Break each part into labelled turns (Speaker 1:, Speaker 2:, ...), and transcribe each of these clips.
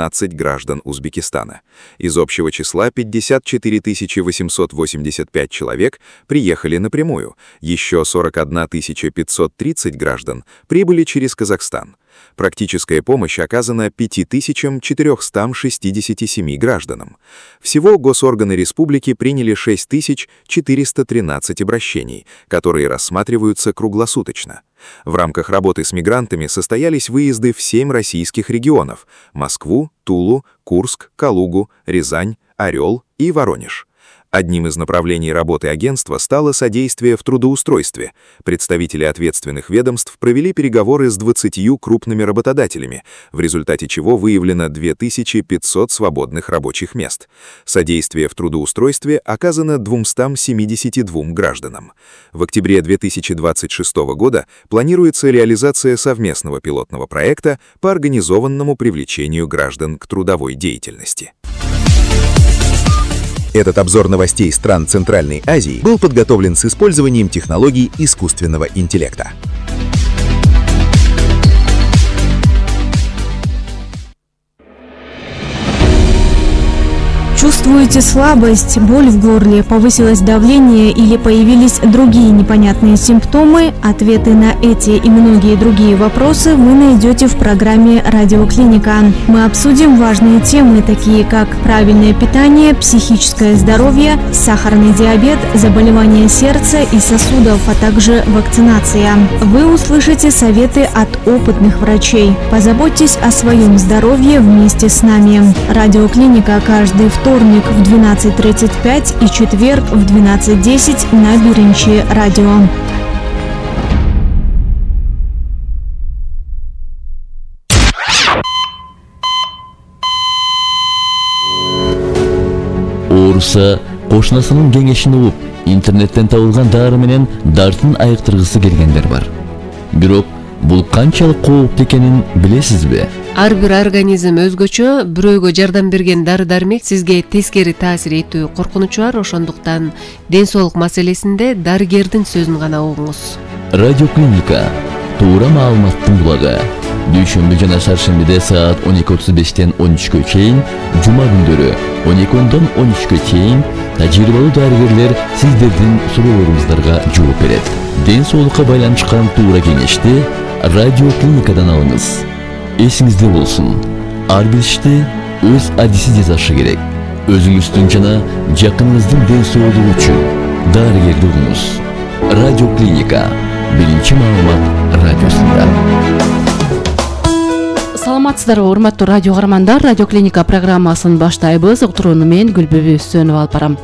Speaker 1: 15 граждан Узбекистана. Из общего числа 54 885 человек приехали напрямую, еще 41 530 граждан прибыли через Казахстан. Практическая помощь оказана 5467 гражданам. Всего госорганы республики приняли 6413 обращений, которые рассматриваются круглосуточно. В рамках работы с мигрантами состоялись выезды в 7 российских регионов – Москву, Тулу, Курск, Калугу, Рязань, Орел и Воронеж. Одним из направлений работы агентства стало содействие в трудоустройстве. Представители ответственных ведомств провели переговоры с 20 крупными работодателями, в результате чего выявлено 2500 свободных рабочих мест. Содействие в трудоустройстве оказано 272 гражданам. В октябре 2026 года планируется реализация совместного пилотного проекта по организованному привлечению граждан к трудовой деятельности.
Speaker 2: Этот обзор новостей стран Центральной Азии был подготовлен с использованием технологий искусственного интеллекта.
Speaker 3: Чувствуете слабость, боль в горле, повысилось давление или появились другие непонятные симптомы? Ответы на эти и многие другие вопросы вы найдете в программе «Радиоклиника». Мы обсудим важные темы, такие как правильное питание, психическое здоровье, сахарный диабет, заболевания сердца и сосудов, а также вакцинация. Вы услышите советы от опытных врачей. Позаботьтесь о своем здоровье вместе с нами. «Радиоклиника» каждый вторник в 12:35 и четверг в 12:10 на Биринчи радио.
Speaker 4: Ооруса кошунасынын кеңешин угуп, интернеттен табылган дары менен дартын айыктыргысы келгендер бар. Бирок бул канчалык кооптуу экенин билесизби?
Speaker 5: Ар бир организм өзгөчө, бирөөгө жардам берген дары-дармек сизге тескери таасир этүү коркунучу бар, ошондуктан ден соолук маселесинде дарыгердин сөзүн гана угуңуз.
Speaker 4: Радиоклиника туура маалыматтын булагы. Дүйшөмбү жана шаршембиде саат 12:35 13-кө чейин, жума күндөрү 12-дон 13-кө чейин тажрыйбалуу дарыгерлер сиздердин суроолоруңуздарга жооп берет. Ден соолукка байланышкан туура кеңешти Радиоклиникадан алыңыз. Эсиңизде болсун, ар бир ишти өз адиси жасашы керек. Өзүңүздүн жана жакыныңыздын ден соолугу үчүн дарыгерди угуңуз. Радиоклиника биринчи маалымат радиосунда.
Speaker 6: Саламатсыздарбы, урматтуу радио каармандар, Радиоклиника программасын баштайбыз. Уктурууну мен Гүлбүбү Өссөнова алып барам.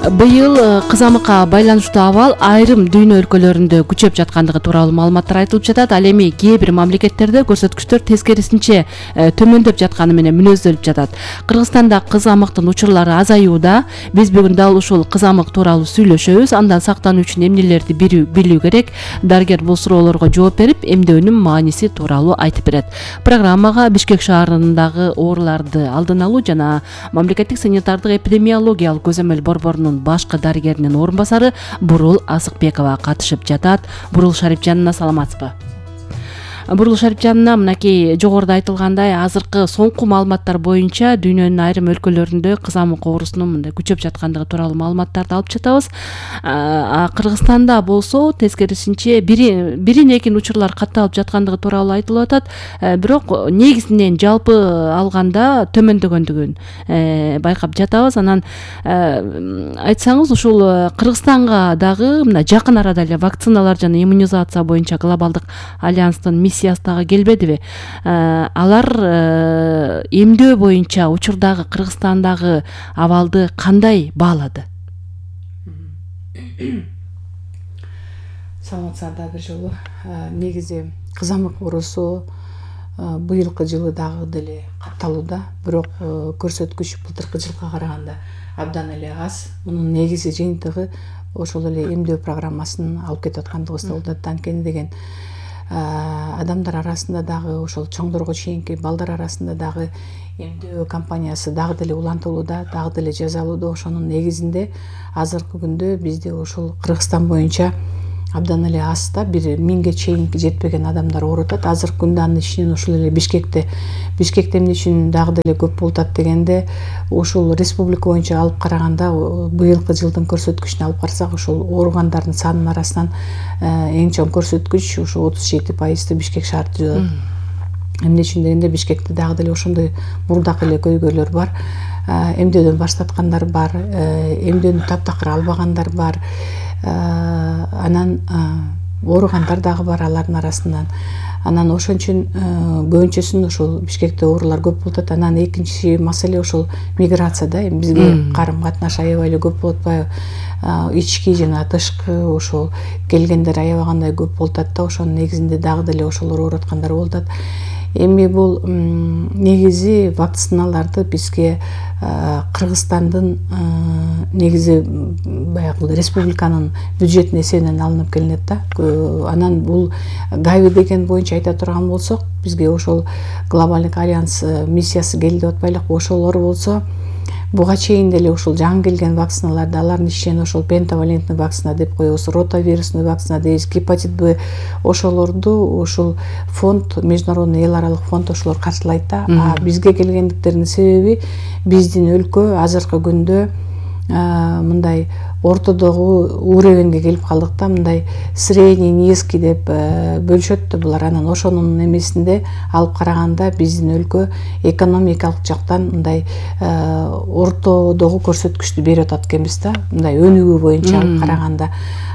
Speaker 6: Быйыл кызамыкка байланыштуу абал айрым дүйнө өлкөлөрүндө күчөп жаткандыгы тууралуу маалыматтар айтылып жатат. Ал эми кээ бир мамлекеттерде көрсөткүчтөр тескерисинче төмөндөп жатканы менен мүнөздөлүп жатат. Кыргызстанда кызамыктын учурлары азаюуда. Биз бүгүн дал ушул кызамык тууралуу сүйлөшөбүз. Андан сактануу үчүн эмнелерди билүү керек? Дарыгер бул суроолорго жооп берип, эмдөөнүн мааниси тууралуу айтып берет. Программага Бишкек шаарындагы ооруларды алдын алуу жана мамлекеттик санитардык эпидемиологиялык көзөмөл борборунун башкы дарыгеринин орун басары Бурул Асыкбекова катышып жатат. Бурул Шарипжанына саламатсызбы? Бурул Шарипжанына, мынакей жогоруда айтылгандай, азыркы соңку маалыматтар боюнча дүйнөнүн айрым өлкөлөрүндө кызамык оорусунун мындай күчөп жаткандыгы тууралуу маалыматтарды алып жатабыз. Кыргызстанда болсо тескерисинче бирин-экин учурлар катталып жаткандыгы тууралуу айтылып атат. Бирок негизинен жалпы алганда төмөндөгөндүгүн байкап жатабыз. Анан айтсаңыз, ушул Кыргызстанга дагы мына жакын арада эле вакциналар жана иммунизация боюнча глобалдык альянстын миссиясы келбедиби? Алар эмдөө боюнча учурдагы Кыргызстандагы абалды кандай баалады?
Speaker 7: Саламатсыздар бир жолу. Негизи кызамык оорусу быйылкы жылы дагы деле катталууда, бирок көрсөткүч былтыркы жылга караганда абдан эле аз. Мунун негизи жыйынтыгы ошол эле эмдөө программасын алып кетип аткандыгыбызда болот. Анткени деген адамдар арасында дагы, ошол чоңдорго чейинки балдар арасында дагы эмдөө компаниясы дагы деле улантылууда, дагы деле жасалууда. Ошонун негизинде азыркы күндө бизде ушул Кыргызстан боюнча абдан эле аз да, бир 1000ге чейин жетпеген адамдар ооруп атат. Азыркы күндө анын ичинен ушул эле Бишкекте эмне үчүн дагы деле көп болуп атат дегенде, ушул республика боюнча алып караганда быйылкы жылдын көрсөткүчүнө алып карасак, ушул ооругандардын санынын арасынан эң чоң көрсөткүч ушу 37%-ты Бишкек шаары түзөт. Эмне үчүн дегенде, Бишкекте дагы деле ошондой мурдак эле көйгөйлөр бар. Эмдөөдөн баш тарткандар бар, эмдөөнү таптакыр албагандар бар. Анан ооругандар дагы бар алардын арасынан. Анан ошон үчүн көбүнчөсүн ошол Бишкекте оорулар көп болуп атат. Анан экинчи маселе ошол миграция да. Бизге карым катнаш аябай эле көп болуп атпайбы? Ички жана тышкы ошол келгендер аябагандай көп болуп атат да. Ошонун негизинде дагы деле ошолор ооруп аткандар болуп атат. Эми бул негизи вакциналарды бизге Кыргызстандын негизи баягы республиканын бюджетин эсебинен алынып келинет да. Анан бул Гави деген боюнча айта турган болсок, бизге ошол глобалдык альянс миссиясы келди деп атпайлыкпы? Ошолор болсо буга чейин деле ушул жаңы келген вакциналарды, алардын ичинен ошол пентавалентный вакцина деп коебуз, ротавирусный вакцина дейбиз, гепатит Б, ошолорду ушул фонд, международный эл аралык фонд ошолор каржылайт да. Бизге келгендиктеринин себеби биздин өлкө азыркы күндө мындай ортодогу уровеньге келип калдык да, мындай средний, низкий деп бөлүшөт да булар. Анан ошонун эмесинде алып караганда биздин өлкө экономикалык жактан мындай ортодогу көрсөткүчтү берип атат экенбиз да, мындай өнүгүү боюнча алып караганда.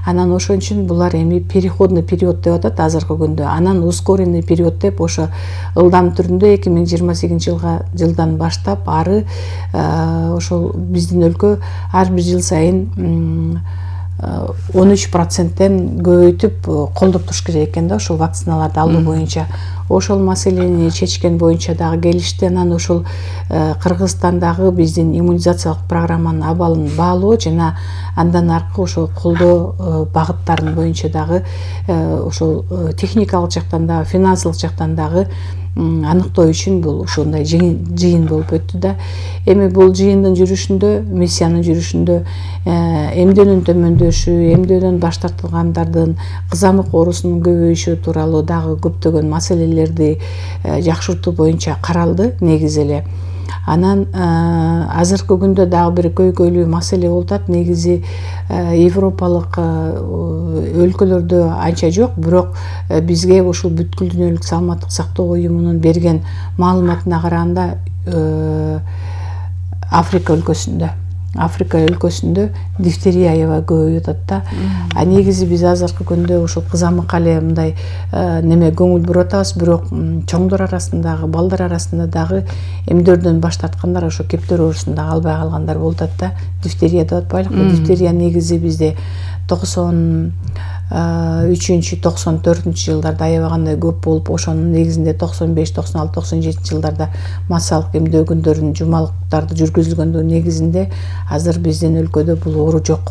Speaker 7: Анан ошон үчүн булар эми переходный период деп атат азыркы күндө. Анан ускоренный период деп ошо ылдам түрүндө 2028 жылдан баштап ары ошол биздин өлкө ар бир жыл сайын 13%-тен көбөйтүп колдоп туруш керек экен да, ошол вакциналарды алуу боюнча. Ошол маселени чечкен боюнча дагы келишти. Анан ошол Кыргызстандагы биздин иммунизациялык программанын абалын баалоо жана андан аркы ошол колдоо багыттарын боюнча дагы ошол техникалык жактан дагы, финансылык жактан дагы аныктоо үчүн бул ушундай жыйын болуп өттү да. Эми бул жыйындын жүрүшүндө, миссиянын жүрүшүндө эмдөөнүн төмөндөшү, эмдөөдөн баш тартылгандардын кызамык оорусунун көбөйүшү тууралуу дагы көптөгөн маселелерди жакшыртуу боюнча каралды негизи эле. Анан азыркы күндө дагы бир көйгөйлүү маселе болуп атат. Негизи европалык өлкөлөрдө анча жок, бирок бизге ушул бүткүл дүйнөлүк саламаттык сактоо уюмунун берген маалыматына караганда Африка өлкөсүндө дифтерия аябай көбөйүп атат да. Негизи биз азыркы күндө ушул кызамык эле мындай неме көңүл буруп атабыз, бирок чоңдор арасындагы, балдар арасында дагы эмдөөдөн баш тарткандар ошо кептер оорусун дагы албай калгандар болуп атат да. Дифтерия деп атпайлыкпы? Дифтерия негизи бизде 93-94 жылдарда аябагандай көп болуп, ошонун негизинде 95, 96, 97 жылдарда массалык эмдөө күндөрүн, жумалыктарды жүргүзүлгөндүгүнүн негизинде азыр биздин өлкөдө бул оору жок.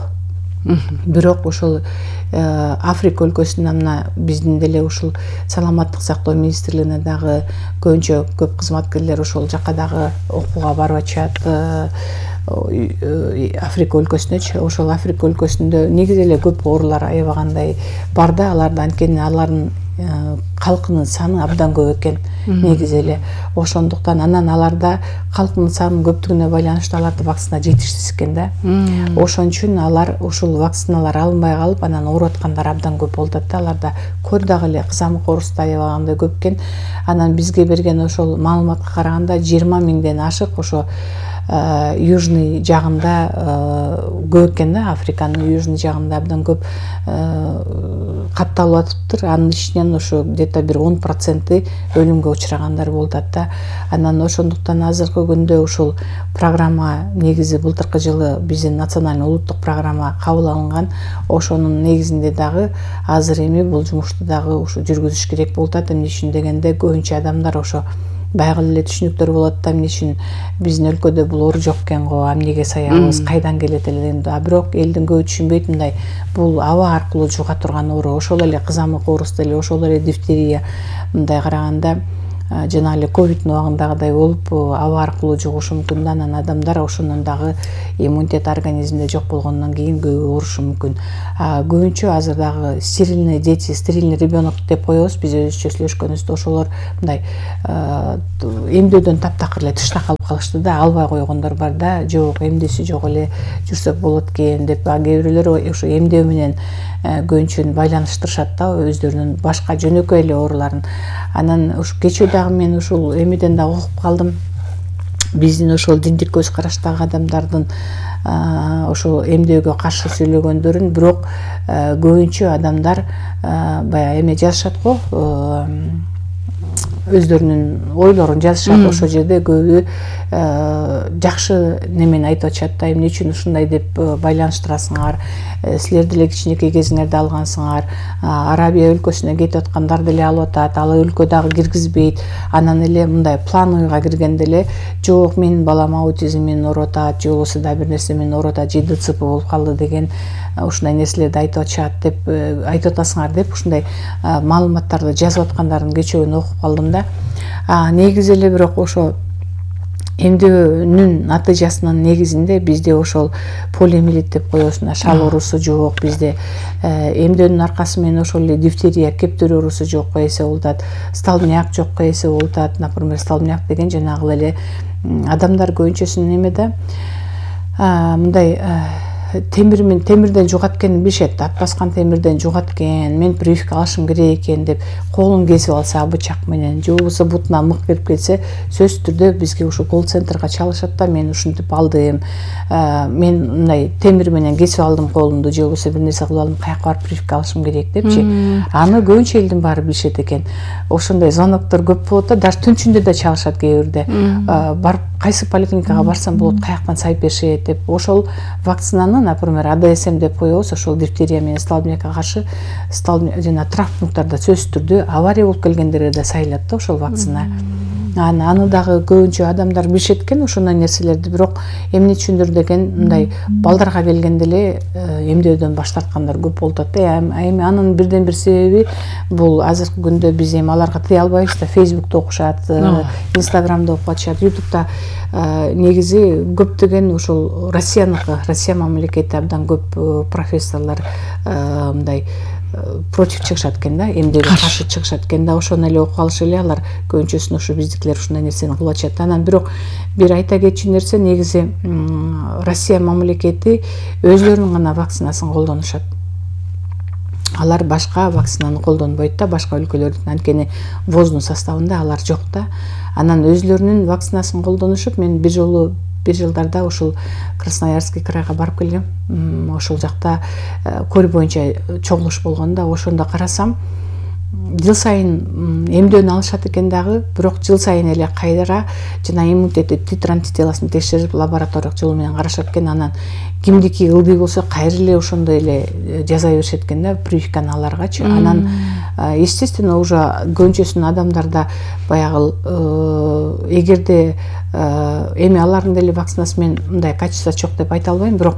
Speaker 7: Бирок ошол Африка өлкөсүнөн мына биздин деле ушул саламаттык сактоо министрлигине дагы көбүнчө көп кызматкерлер ошол жака дагы окууга барып атышат. Африка өлкөсүнөчү, ошол Африка өлкөсүндө негизи эле көп оорулар аябагандай бар да, аларда анткени алардын калкынын саны абдан көп экен негизи эле. Ошондуктан анан аларда калкынын санынын көптүгүнө байланыштуу аларда вакцина жетишсиз экен да. Ошон үчүн алар ушул вакциналар алынбай калып, анан ооруп аткандар абдан көп болуп атат да. Аларда көр дагы эле кызамык оорусу да аябагандай көп экен. Анан бизге берген ошол маалыматка караганда 20 миңден ашык ошо южный жагында көп экен да, Африканын южный жагында абдан көп катталып атыптыр. Анын ичинен ошо где-то бир 10% өлүмгө учрагандар болуп атат да. Анан ошондуктан азыркы күндө ушул программа негизи былтыркы жылы биздин национальный улуттук программа кабыл алынган. Ошонун негизинде дагы азыр эми бул жумушту дагы ушу жүргүзүш керек болуп атат. Эмне үчүн дегенде көбүнчө адамдар ошо баягы эле түшүнүктөр болот да, эмне үчүн биздин өлкөдө бул оору жок экен го, эмнеге саябыз, кайдан келет эле дегенде. Бирок элдин көбү түшүнбөйт, мындай бул аба аркылуу жуга турган оору, ошол эле кызамык оорусу деле, ошол эле дифтерия. Мындай караганда жана эле ковидтин убагындагыдай болуп аба аркылуу жугушу мүмкүн да, анан адамдар ошондон дагы иммунитет организмде жок болгондон кийин көбү оорушу мүмкүн. Көбүнчө азыр дагы стерильный дети, стерильный ребенок деп коебуз биз өзүбүзчө сүйлөшкөнүбүздө, ошолор мындай эмдөөдөн таптакыр эле тышта калып калышты да, албай койгондор бар да, жок эмдүүсү жок эле жүрсөк болот экен деп, кээ бирөөлөр ошо эмдөө менен көбүнчө байланыштырышат да өздөрүнүн башка жөнөкөй эле ооруларын. Анан ушу кечээ дагы мен ушул эмеден дагы окуп калдым. Биздин ошол диндик көз караштагы адамдардын ошо эмдөөгө каршы сүйлөгөндөрүн, бирок көбүнчө адамдар баягы эме жазышат го, өздөрүнүн ойлорун жазышат. Ошол жерде көбү жакшы немени айтып атышат да, эмне үчүн ушундай деп байланыштырасыңар, силер деле кичинекей кезиңерде алгансыңар, Арабия өлкөсүнө кетип аткандар деле алып атат, ал өлкө дагы киргизбейт. Анан эле мындай план ойга киргенде эле жок менин балам аутизм менен ооруп атат, же болбосо да бир нерсе менен ооруп атат, же ДЦП болуп калды деген ушундай нерселерди айтып атышат деп айтып атасыңар деп ушундай маалыматтарды жазып аткандардын кечөөгүн окуп калдым да. Негизи эле бирок ошо эмдөөнүн натыйжасынын негизинде бизде ошол полиомиелит деп коебуз, шал оорусу жок бизде. Эмдөөнүн аркасы менен ошол эле дифтерия, кептер оорусу жок эсе болуп атат, столбняк жок эсе болуп атат. Например, столбняк деген жанагы эле адамдар көбүнчөсүн эме да мындай темирден жугат экенин билишет, ат баскан темирден жугат экен, мен прививка алышым керек экен деп колун кесип алса бычак менен, же болбосо бутуна мык кирип кетсе, сөзсүз түрдө бизге ушу колл-центрга чалышат да, мен ушинтип алдым, мен мындай темир менен кесип алдым колумду, же болбосо бир нерсе кылып алдым, каяка барып прививка алышым керек депчи. Аны көбүнчө элдин баары билишет экен. Ошондой звоноктор көп болот да, даже түн ичинде да чалышат кээ бирде. Барып кайсы поликлиникага барсам болот, каяктан сайып беришет деп. Ошол вакцинаны, например, АДСМ деп коебуз, ошол дифтерия менен столбнякка каршы жана травмпункттарда сөзсүз түрдө авария болуп келгендерге да сайылат да ошол вакцина. Аны дагы көбүнчө адамдар билишет экен ошондой нерселерди, бирок эмне үчүндүр деген мындай балдарга келгенде эле эмдөөдөн баш тарткандар көп болуп атат да. Эми анын бирден бир себеби бул азыркы күндө биз эми аларга тыя албайбыз да, Фейсбукта окушат, Инстаграмда окуп атышат, Ютубта негизи көптөгөн ушул Россия мамлекети абдан көп профессорлор мындай против чыгышат экен да, эмдөөгө каршы чыгышат экен да, ошону эле окуп алышы эле алар көбүнчөсүн ошо биздикилер ушундай нерсени кылып атышат. Анан бирок бир айта кетчү нерсе, негизи Россия мамлекети өздөрүнүн гана вакцинасын колдонушат. Алар башка вакцинаны колдонбойт да, башка өлкөлөрдүн, анткени ВОЗдун составында алар жок да. Анан өзлөрүнүн вакцинасын колдонушуп, мен бир жылдарда ушул Красноярский крайга барып келгем. Ошол жакта көл боюнча чогулуш болгон да, ошондо карасам жыл сайын эмдөөнү алышат экен дагы, бирок жыл сайын эле кайра жана иммунитети титр антителосун текшерип лабораториялык жол менен карашат экен. Анан кимдики ылдый болсо кайра эле ошондой эле жаза беришет экен да, прививканы аларгачы. Анан естественно уже көбүнчөсүнүн адамдарда баягы эгерде эми алардын деле вакцинасы менен мындай качество жок деп айта албайм, бирок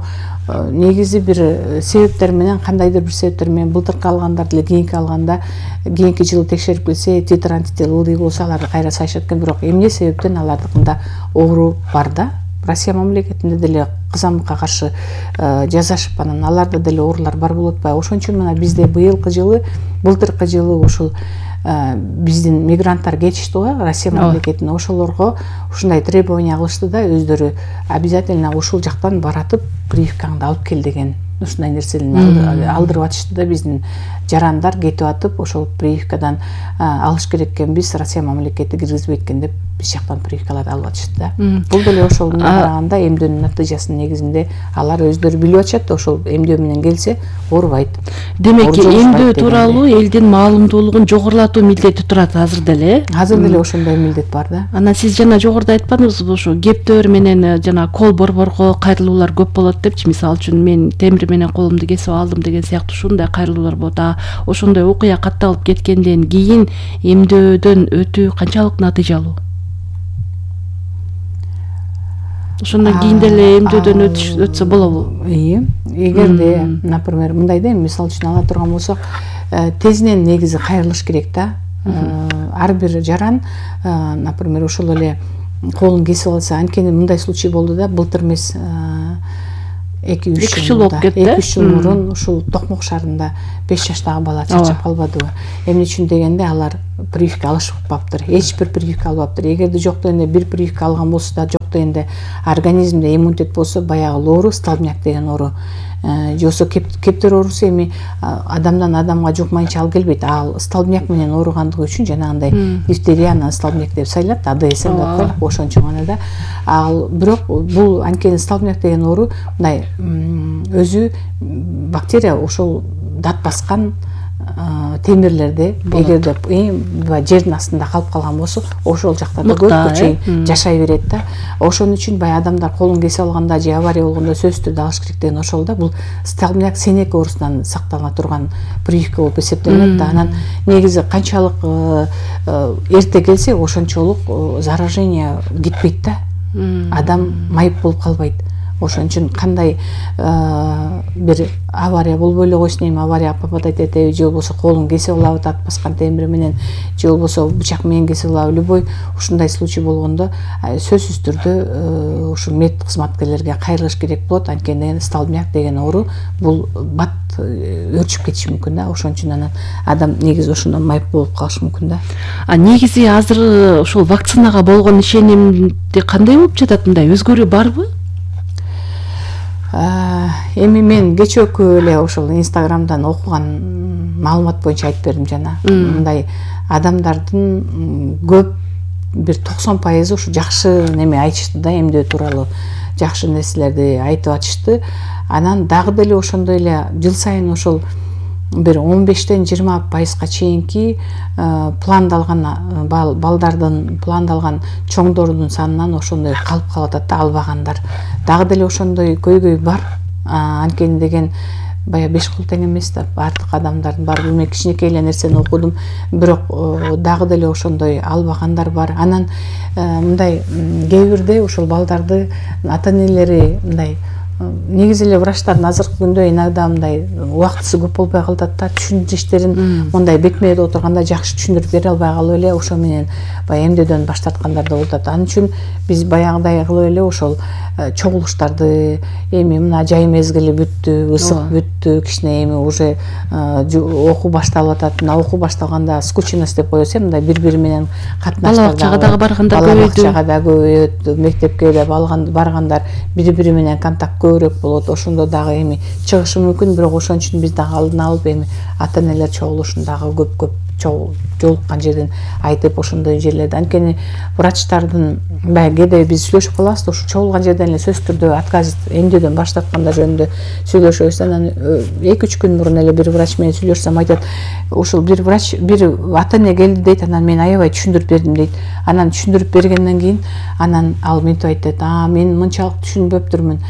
Speaker 7: негизи бир себептер менен, кандайдыр бир себептер менен былтыркы алгандар деле кийинки алганда, кийинки жылы текшерип келсе титр антител ылдый болсо аларды кайра сайышат экен. Бирок эмне себептен алардыкында оору бар да, Россия мамлекетинде деле кызамыкка каршы жасашып, анан аларда деле оорулар бар болуп атпайбы. Ошон үчүн мына бизде былтыркы жылы ушул биздин мигранттар кетишти го Россия мамлекетине, ошолорго ушундай требование кылышты да, өздөрү обязательно ушул жактан баратып прививкаңды алып кел деген ушундай нерсени алдырып атышты да. Биздин жарандар кетип атып ошол прививкадан алыш керек экенбиз, Россия мамлекети киргизбейт экен деп биз жактан прививкаларды алып атышты да. Бул деле ошол караганда эмдөөнүн натыйжасынын негизинде алар өздөрү билип атышат да, ошол эмдөө менен келсе оорубайт.
Speaker 6: Демек эмдөө тууралуу элдин маалымдуулугун жогорулатуу милдети турат азыр деле.
Speaker 7: Азыр деле ошондой милдет бар да.
Speaker 6: Анан сиз жана жогоруда айтпадыңызбы, ушу кептөр менен жана кол борборго кайрылуулар көп болот депчи. Мисалы үчүн мен темир менен колумду кесип алдым деген сыяктуу ушундай кайрылуулар болот. Ошондой окуя катталып кеткенден кийин эмдөөдөн өтүү канчалык натыйжалуу? Ошондон кийин деле эмдөөдөн өтсө болобу?
Speaker 7: Эгерде, например, мындай да, мисалы үчүн ала турган болсок, тезинен негизи кайрылыш керек да. ар бир жаран, например, ошол эле колун кесип алса, анткени мындай случай болду да, былтыр эмес, 2-3 жыл болуп кетти. 2-3 жыл мурун ушул Токмок шаарында 5 жаштагы бала чарчап калбадыбы? Эмне үчүн дегенде, алар прививка алышпаптыр. Эч бир прививка албаптыр. Эгерде жок дегенде бир прививка алган болсо да, жок дегенде организмде иммунитет болсо, баягы оору, столбняк деген оору, жосо кептер оорусу эми адамдан адамга жукмайынча ал келбейт. Ал столбняк менен ооругандыгы үчүн жанагындай дифтерия, анан столбняк деп сайлап, АДСМ деп коелук, ошон үчүн гана да. Ал бирок бул анткени столбняк деген оору мындай өзү бактерия ошол дат баскан темирлерде, эгерде жердин астында калып калган болсо, ошол жактарда көпкө чейин жашай берет да. Ошон үчүн баягы адамдар колун кесип алганда же авария болгондо сөзсүз түрдө алыш керек деген ошол да. Бул столбняк сенек оорусунан сактала турган прививка болуп эсептелет да. Анан негизи канчалык эрте келсе, ошончолук заражение кетпейт да. Адам майып болуп калбайт. Ошон үчүн кандай бир авария болбой эле койсун, эми аварияга попадать этеби, же болбосо колун кесип алабы дат баскан темир менен, же болбосо бычак менен кесип алабы, любой ушундай случай болгондо сөзсүз түрдө ушул мед кызматкерлерге кайрылыш керек болот. Анткени столбняк деген оору бул бат өрчүп кетиши мүмкүн да. Ошон үчүн анан адам негизи ошондон майып болуп калышы мүмкүн да.
Speaker 6: Негизи азыр ушул вакцинага болгон ишенимди кандай болуп жатат? Мындай өзгөрүү барбы?
Speaker 7: Эми мен кечээкү эле ошол Инстаграмдан окуган маалымат боюнча айтып бердим жана. Мындай адамдардын көп бир 90% ушу жакшы неме айтышты да, эмдөө тууралуу жакшы нерселерди айтып атышты. Анан дагы деле ошондой эле жыл сайын ошол бир 15-тен 20% чейинки пландалган балдардын, пландалган чоңдордун санынан ошондой калып калып атат да, албагандар. Дагы деле ошондой көйгөй бар. Анткени деген баягы 5 кол тең эмес да, бардык адамдардын баары. Мен кичинекей эле нерсени окудум, бирок дагы деле ошондой албагандар бар. Анан мындай кээ бирде ошол балдарды ата-энелери мындай, негизи эле врачтардын азыркы күндө иногда мындай убактысы көп болбой калат да, түшүндүрүштөрүн мындай бетмеде отурганда жакшы түшүндүрүп бере албай калып эле ошо менен баягы эмдөөдөн баш тарткандар да болуп атат. Анын үчүн биз баягыдай кылып эле ошол чогулуштарды, эми мына жай мезгили бүттү, ысык бүттү, кичине эми уже окуу башталып атат. Мына окуу башталганда скученность деп коебуз, мындай бири-бири менен катнаштар,
Speaker 6: балабакчага дагы баргандар көбөйдү.
Speaker 7: Балабакчага да көбөйөт, мектепке да баргандар бири-бири менен контакт көбүрөөк болот. Ошондо дагы эми чыгышы мүмкүн, бирок ошон үчүн биз дагы алдын алып эми ата-энелер чогулушун дагы көп жолуккан жерден айтып, ошондой жерлерде. Анткени врачтардын баягы кээде биз сүйлөшүп калабыз да, ушу чогулган жерден эле сөзсүз түрдө отказ эмдөөдөн баш тарткандар жөнүндө сүйлөшөбүз. Анан 2-3 күн мурун эле бир врач менен сүйлөшсөм айтат, ушул бир врач, бир ата-эне келди дейт, анан мен аябай түшүндүрүп бердим дейт. Анан түшүндүрүп бергенден кийин анан ал мынтип айтты: мен мынчалык түшүнбөптүрмүн,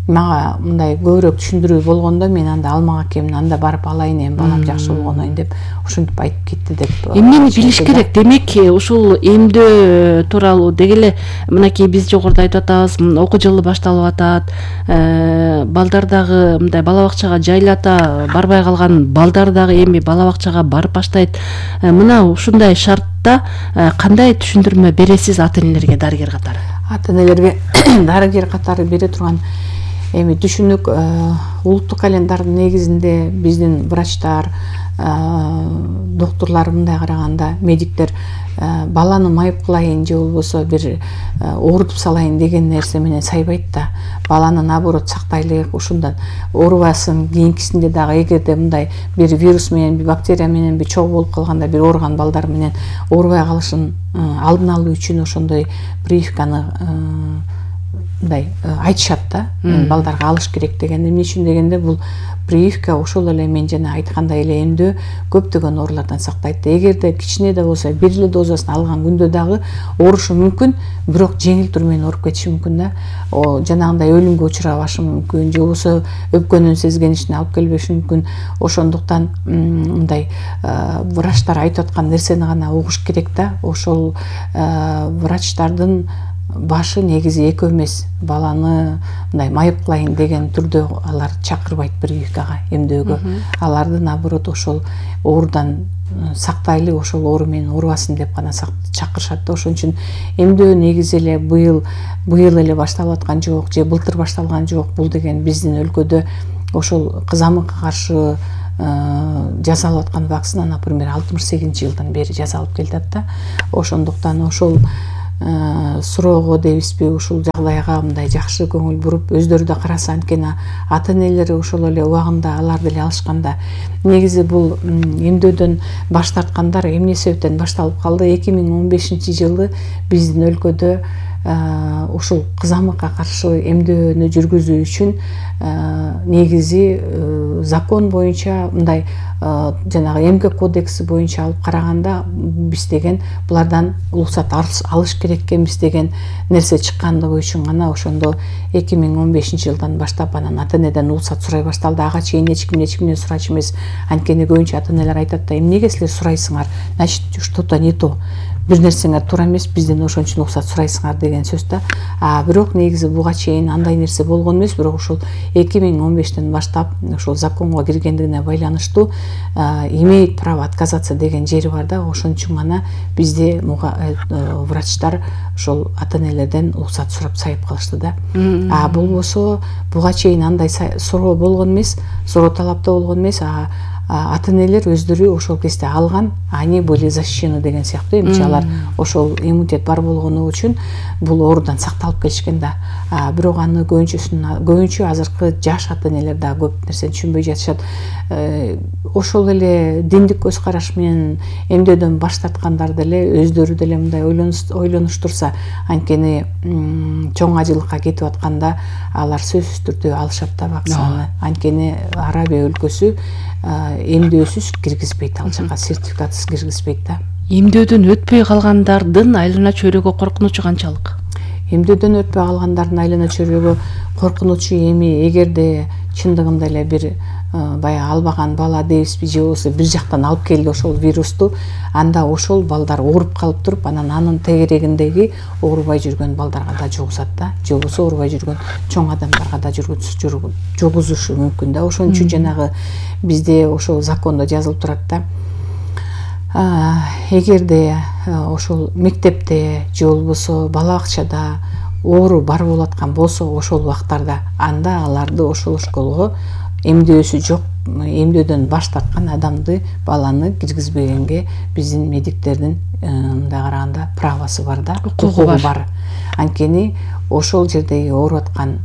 Speaker 7: мага мындай көбүрөөк түшүндүрүү болгондо мен анда алмак экенмин, анда барып алайын, эми балам жакшы болгондон деп ушинтип айтып кетти деп.
Speaker 6: Эмнени билиш керек? Демек, ушул эмдөө тууралуу деги эле мынакей биз жогоруда айтып атабыз, окуу жылы башталып атат, балдар дагы мындай балабакчага жайлата барбай калган балдар дагы эми балабакчага барып баштайт. Мына ушундай шартта кандай түшүндүрмө бересиз ата-энелерге, дарыгер катары?
Speaker 7: Ата-энелерге дарыгер катары бере турган эми түшүнүк, улуттук календардын негизинде биздин врачтар, доктурлар мындай караганда, медиктер баланы майып кылайын же болбосо бир оорутуп салайын деген нерсе менен сайбайт да. Баланы наоборот сактайлык, ушундан оорубасын, кийинкисинде дагы эгерде мындай бир вирус менен, бир бактерия менен бир чогуу болуп калганда, бир ооруган балдар менен оорубай калышын алдын алуу үчүн ошондой прививканы мындай айтышат да, балдарга алыш керек деген. Эмне үчүн дегенде, бул прививка ошол эле мен жана айткандай эле эмдөө көптөгөн оорулардан сактайт. Эгерде кичине да болсо бир эле дозасын алган күндө дагы оорушу мүмкүн, бирок жеңил түр менен ооруп кетиши мүмкүн да. Жанагындай өлүмгө учурабашы мүмкүн, же болбосо өпкөнүн сезгенишине алып келбеши мүмкүн. Ошондуктан мындай врачтар айтып аткан нерсени гана угуш керек да. Ошол врачтардын башы негизи экөө эмес, баланы мындай майып кылайын деген түрдө алар чакырбайт прививкага, эмдөөгө. Аларды наоборот ошол оорудан сактайлы, ошол оору менен оорубасын деп гана чакырышат да. Ошон үчүн эмдөө негизи эле быйыл эле башталып аткан жок, же былтыр башталган жок. Бул деген биздин өлкөдө ошол кызамыкка каршы жасалып аткан вакцина, например, 68-жылдан бери жасалып келатат да. Ошондуктан ошол суроого дейбизби, ушул жагдайга мындай жакшы көңүл буруп, өздөрү да караса, анткени ата-энелери ошол эле убагында алар деле алышканда. Негизи бул эмдөөдөн баш тарткандар эмне себептен башталып калды? 2015-жылы биздин өлкөдө ушул кызамыкка каршы эмдөөнү жүргүзүү үчүн негизи закон боюнча мындай жанагы эмгек кодекси боюнча алып караганда биз деген булардан уруксат алыш керек экенбиз деген нерсе чыккандыгы үчүн гана ошондо 2015-жылдан баштап анан ата-энеден уруксат сурай башталды. Ага чейин эч кимден сурачу эмес. Анткени көбүнчө ата-энелер айтат да, эмнеге силер сурайсыңар? Значит, что-то не то. Бир нерсеңер туура эмес, бизден ошон үчүн уруксат сурайсыңар деген сөз да. Бирок негизи буга чейин андай нерсе болгон эмес, бирок ушул 2015-тен баштап ошол законго киргендигине байланыштуу имеет право отказаться деген жери бар да. Ошон үчүн гана бизде врачтар ошол ата-энелерден уруксат сурап сайып калышты да. Болбосо буга чейин андай суроо болгон эмес, суроо талапта болгон эмес. Ата-энелер өздөрү ошол кезде алган, они были защищены деген сыяктуу. Эмчи алар ошол иммунитет бар болгону үчүн бул оорудан сакталып келишкен да. Бирок аны көбүнчө азыркы жаш ата-энелер да көп нерсени түшүнбөй жатышат. Ошол эле диндик көз караш менен эмдөөдөн баш тарткандар деле өздөрү деле мындай ойлонуштурса, анткени чоң ажылыкка кетип атканда алар сөзсүз түрдө алышат да вакцинаны. Анткени Арабия өлкөсү эмдөөсүз киргизбейт, ал жака сертификатсыз киргизбейт да.
Speaker 6: Эмдөөдөн өтпөй калгандардын айлана чөйрөгө коркунучу канчалык?
Speaker 7: Эмдөөдөн өтпөй калгандардын айлана чөйрөгө коркунучу эми эгерде чындыгында эле бир баягы албаган бала дейбизби, же болбосо бир жактан алып келди ошол вирусту, анда ошол балдар ооруп калып туруп, анан анын тегерегиндеги оорубай жүргөн балдарга да жугузат да, же болбосо оорубай жүргөн чоң адамдарга да жугузушу мүмкүн да. Ошон үчүн жанагы бизде ошол закондо жазылып турат да. Эгерде ошол мектепте же болбосо бала бакчада оору бар болуп аткан болсо, ошол убактарда анда аларды ошол школго эмдөөсү жок, эмдөөдөн баш тарткан адамды, баланы киргизбегенге биздин медиктердин мындай караганда правосы бар да, укугу бар. Анткени ошол жердеги ооруп аткан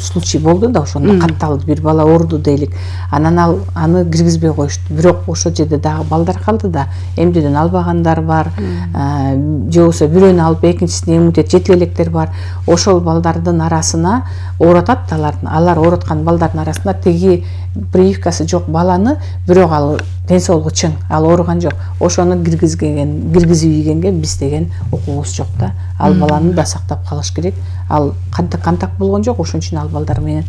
Speaker 7: случай болду да, ошондо катталды, бир бала ооруду дейлик, анан аны киргизбей коюшту. Бирок ошол жерде дагы балдар калды да, эмдөөдөн албагандар бар, же болбосо бирөөнү алып экинчисине иммунитет жете электер бар. Ошол балдардын арасына оорутат, алар ооруткан балдардын арасында тиги прививкасы жок баланы, бирок ал ден соолугу чың, ал ооруган жок, ошону киргизип ийгенге биз деген укугубуз жок да. Ал баланы да сактап калыш керек. Ал контакт болгон жок, ошон үчүн ал балдар менен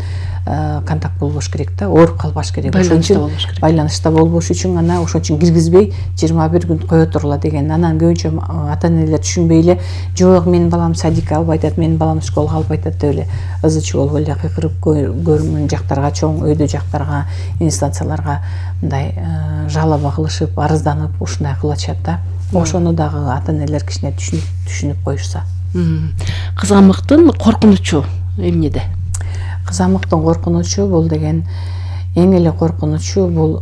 Speaker 7: контакт болбош керек да, ооруп калбаш керек. Ошон үчүн байланышта болбош үчүн гана ошон үчүн киргизбей 21 күн кое тургула деген. Анан көбүнчө ата-энелер түшүнбөй эле, жок менин балам садикке албай атат, менин балам школго албай атат деп эле ызы-чуу болуп эле кыйкырып көрмөн жактарга, чоң өйдө жактарга, инстанцияларга мындай жалоба кылышып, арызданып, ушундай кылып атышат да. Ошону дагы ата-энелер кичине түшүнүп коюшса.
Speaker 6: Кызамыктын коркунучу эмнеде?
Speaker 7: Кызамыктын коркунучу бул деген эң эле коркунучу бул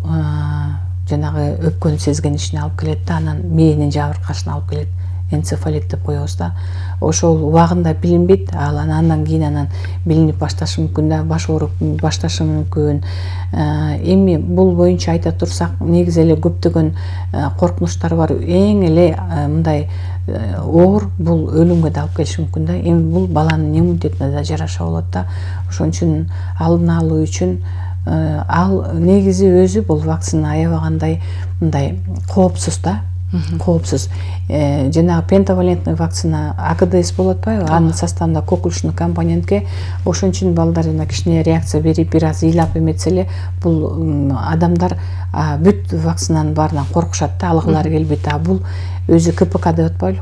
Speaker 7: жанагы өпкөнү сезгенишине алып келет да, анан мээнин жабыркашына алып келет. Энцефалит деп коебуз да. Ошол убагында билинбейт, андан кийин билинип башташы мүмкүн да, баш ооруп башташы мүмкүн. Эми бул боюнча айта турсак, негизи эле көптөгөн коркунучтар бар. Эң эле мындай оор бул өлүмгө да алып келиши мүмкүн да. Эми бул баланын иммунитетине да жараша болот да. Ошон үчүн алдын алуу үчүн ал негизи өзү бул вакцина аябагандай мындай коопсуз да. Коопсуз. Жанагы пентавалентный вакцина АКДС болуп атпайбы? Анын составында коклюшный компонентке, ошон үчүн балдар жана кичине реакция берип, бир аз ыйлап эметсе эле, бул адамдар бүт вакцинаның баарынан коркушат да, алгылары келбейт. Бул өзү КПК деп атпайлы,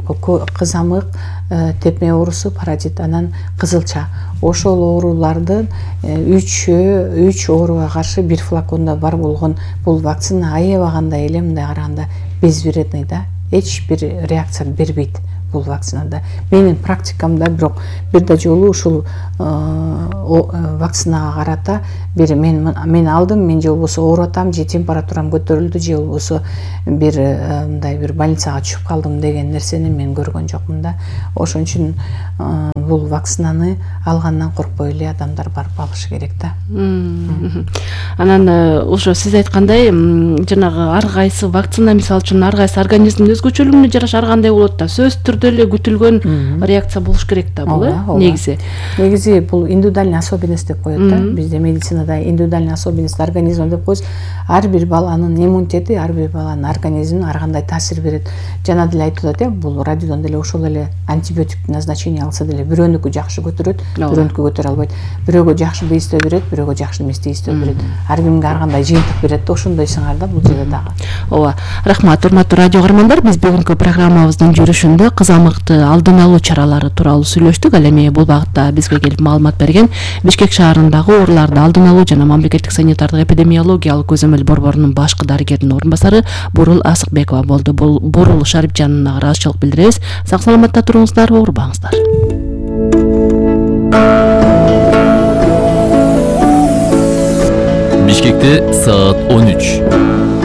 Speaker 7: кызамык, тепме оорусу, паразит, анан кызылча. Ошол оорулардын 3 ооруга каршы бир флакондо бар болгон бул вакцина аябагандай эле мындай караганда безвредный да, эч бир реакция бербейт бул вакцинада. Менин практикамда бирок бир да жолу ушул вакцинага карата бир мен алдым, мен же болбосо ооруп атам, же температурам көтөрүлдү, же болбосо бир мындай бир больницага түшүп калдым деген нерсени мен көргөн жокмун да. Ошон үчүн бул вакцинаны алгандан коркпой эле адамдар барып алышы керек да.
Speaker 6: Анан ошо сиз айткандай жанагы ар кайсы вакцина мисалы үчүн ар кайсы организмдин өзгөчөлүгүнө жараша ар кандай болот да. Сөзсүз түрдө эле күтүлгөн реакция болуш керек да бул,
Speaker 7: негизи бул индивидуальный особенность деп коет да. Бизде медицинада индивидуальный особенность организма деп коебуз. Ар бир баланын иммунитети, ар бир баланын организмине ар кандай таасир берет. Жана деле айтып атат, бул радиодон деле ошол эле антибиотик назначение алса деле бирөөнүкү жакшы көтөрөт, бирөөнүкү көтөрө албайт. Бирөөгө жакшы тийистөө берет, бирөөгө жакшы эмес тийистөө берет. Ар кимге ар кандай жыйынтык берет да, ошондой сыңар да бул жерде дагы.
Speaker 6: Ооба. Рахмат, урматтуу радио каармандар. Биз бүгүнкү программабыздын жүрүшүндө кызамыкты алдын алуу чаралары тууралуу сүйлөштүк. Ал эми бул багытта бизге келип маалымат берген Бишкек шаарындагы ооруларды алдын алуу жана мамлекеттик санитардык эпидемиологиялык көзөмөл борборунун башкы дарыгеринин орун басары Бурул Асыкбекова болду. Бурул Шарипжановна ыраазычылык билдиребиз. Сак саламатта туруңуздар, оорубаңыздар.
Speaker 4: Бишкекте саат 13.